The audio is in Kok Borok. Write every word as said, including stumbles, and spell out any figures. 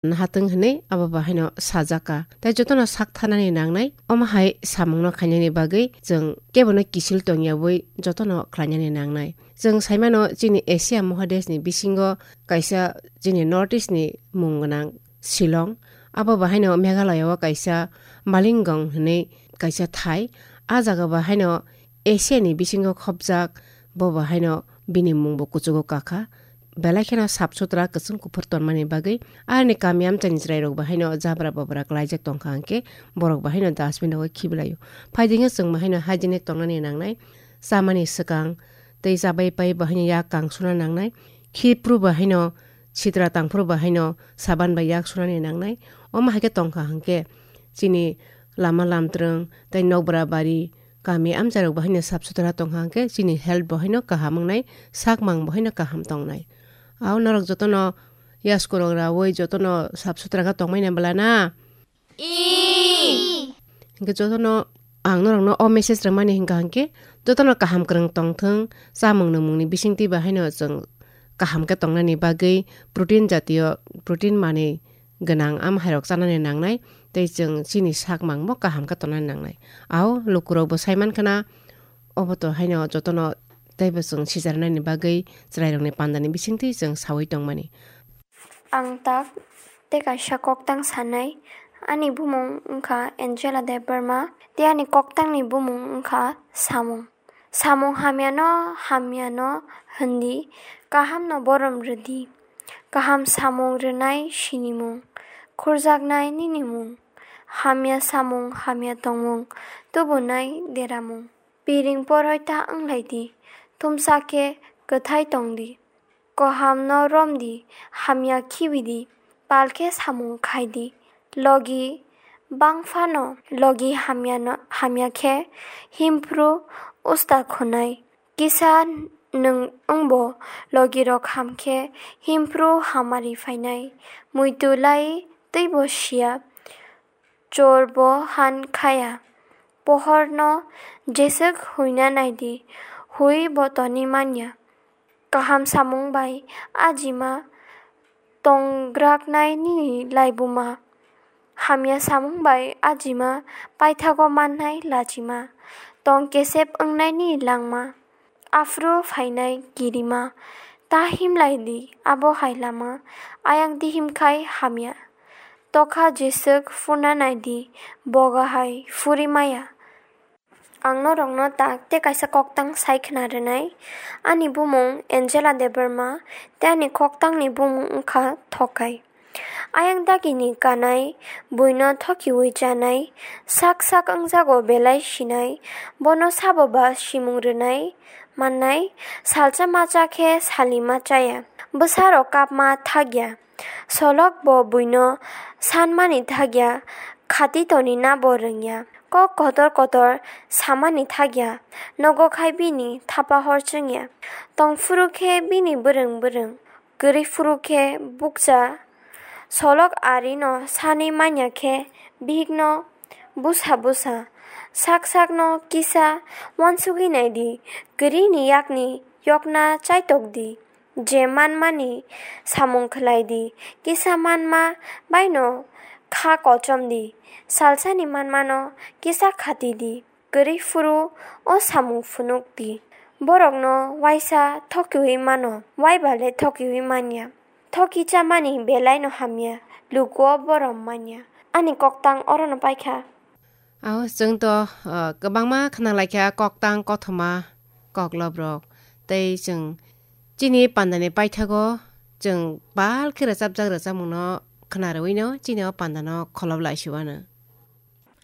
nahatwng hwnwi abo bahaino sajak kha. Tai jotono sak thanani nangnai, omo hai samungno khainani bagwi chwng kebono kisil tongyawi jotono khlainani nangnai. Chwng saimano chini Asia Mohadeshni bisingo kaisa chini North East ni mung gwnang Shillong. Abo bahaino Meghalaya o kaisa Malingaon hwnwi kaisa thai. A jaga bahaino Asia ni bisingo khopjak, bo bahaino bini mungbo kuchugo kakha. Belai kheno sap sutra kwchwng kuphur tonmani bagwi ani kami amchaini chwrairok bahaino jabra babra klaijak tongkha hwnkhe borok bahaino dustbin rogo khibilaio. Phaidingo chwng bahaino hygienic tongnani nangnai, chamani swkang tei chabai pai bahaino yak kang suna nangnai, khiphru bahaino sitra tangphru bahaino saban bai yak sunani nangnai. Omo hai khe tongkha hwnkhe chini lama lamtrwng tei nokbra bari kami amchairok bahaino sap sutra tongkha hwnkhe chini health bahaino kaham wngnai, sakmang bahaino kaham tongnai. Ao norok jotono yaskurok raui jotono sap sutra khe tongmani bwla na? Ee. Hwnkhe jotono ang norokno o message rwmani hwnkha hwnkhe jotono kaham kwrwng tongthwng, chamung nwngmungni bisingtwi bahaino chwng kaham khe tongnani bagwi protein jatiyo, protein manwi gwnang am hairok chanani nangnai, tei chwng chini sakmangbo kaham khe tongnani nangnai. Ao lukurokbo saimankhana obo to haino jotono teibo chwng sijarnani bagwi chwrairokni pandani bisingtwi chwng saui tongmani. Ang tak tei kaisa koktang sanai. Ani bumung wngkha Angela Debbarma, tei ani koktangni bumung wngkha Samung. Samung hamyano hamyano hwndi, kahamno borom rwdi. Kaham samung rwnai sinimung, khurjaknai ninimung. Hamya samung hamya tongmung, tubunai deramung. Piring poroi ta wnglaidi, thumsa khe kwthai tongdi. Kohamno romdi, hamya khibidi, pal khe samung khaidi. Logi bangphano logi hamyano, hamya khe himphru usta khunai. Kisa nwng wngbo logirok ham khe himphru hamari phainai. Muitu lai twibo siya, chorbo han khaya. Pohorno jeswk huina naidi, hui bo toni manya. Kaham samung bai ajima tongraknai nini laibuma. Hamya samung bai ajima paithago mannai lachima. Tong kesep wngnaini langma. Aphuru phainai kirima. Ta himlaidi abo hai lama. Ayang dihim khai hamya. Tokha jeswk phurna naidi, boga hai phuri maya. Ang norokno tak tei kaisa koktang sai khna rwnai. Ani bumung Angela Debbarma tei ani koktangni bumung wngkha Thokai. Ayang dagini kanai, buino thokiui chanai, sak sak wngjago belai sinai, bono sabo ba simung rwnai mannai, salsa macha khe salima chaya, bwsarok kapma thakya. Solok bo buino sanmani thakya, khati tonina bo rwngya. Kok kotor kotor samani thakya, nogo khai bini thapa hor chwngya. Tongphuru khe bini bwrwng bwrwng, kwrwi phuru khe bukcha. Solok arino sanwi manya khe bihikno busa busa, sak sakno kisa uansugwi naidi, kwrwini yakni yokna chaitokdi. Je manmani samung khlai di, kisa manma baino kha kochom di, salsani manmano kisa khati di, kwrwi phuru o samung phunuk di. Borokno uaisa thokiui mano, uaiba le thokiui manya. Thoki chamani belaino hamya, lukuo borom manya. Ani koktang orono paikha. Ao chwng to, ah, kwbangma khna laikha koktang kothoma koklobrok. Tei chwng chini pandani paithago chwng bal khe rwchapjak rwchapmungno khna rwino chini o pandano kholob lai siwano.